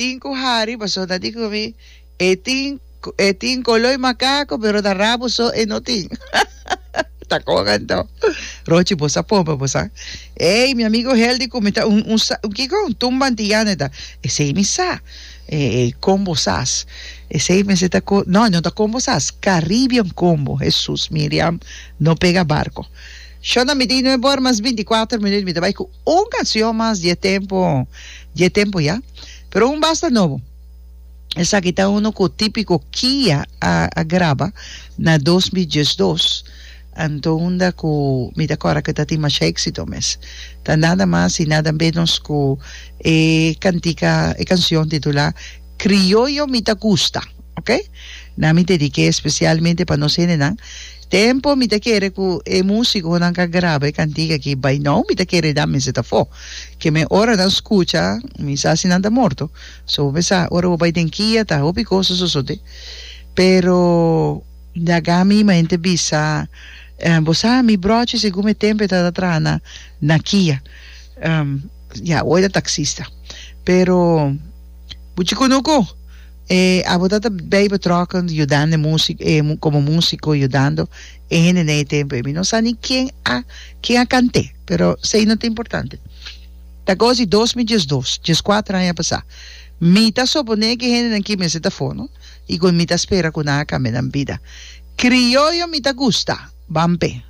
tin ku hari pasobra ta di ku mi e tin e tin koloi makako pero ta rabo so e no tin. Ta kon anto. Rochi bo sa pompa bo sa. Ey mi amigo Heldy ku mi ta un un sa un kiko un tumba antiyano e ta. Esey mi sa. E e combo sas. Esey mester ta ko no no ta combo sas Caribbean combo Jesus Miriam no pega barco. Shona mi tin nuebe ora mas binti kuater minuut mi ta bay ku un cancion mas di e tempo di e tempo ya. Pero un basta nobo. Esaki ta uno ku Típiko Kia a a graba na 2012, anto unda ku mi ta kòrda ku ta tin masha éksito mes. Ta nada mas i nada ménos ku e kantika, e kansion titulá Krioyo mi ta gusta, oke. Nan mi dedik'é espesialmente pa nos hendenan. Tempo mi ta kere ku e músikonan ku a graba e kantika aki bai nou mi ta kere nan mester ta afó. Ke men ora nan skucha mi sa si nan ta morto. So bo pensa ora bo bai den kia ta hopi kos a sosode. Pero laga mi mente bisa bo sa mi brochi segun e tempo e tabata traha na na kia. Ya awor e ta taxista. Pero buchi kunuku e abo ta ta bay betrokken yudando e musik e komo musiko yudando e hende den e tempo ei. Mi no sa ni ken a ken a kant'é pero esei no ta importante. Ta kos di 2012, dieskuater aña pasá. Mi ta soponé ku e hendenan ki mester ta afó, no? I ku mi ta spera ku nan a kambia nan bida. Krioyo mi ta gusta. Ban p'e.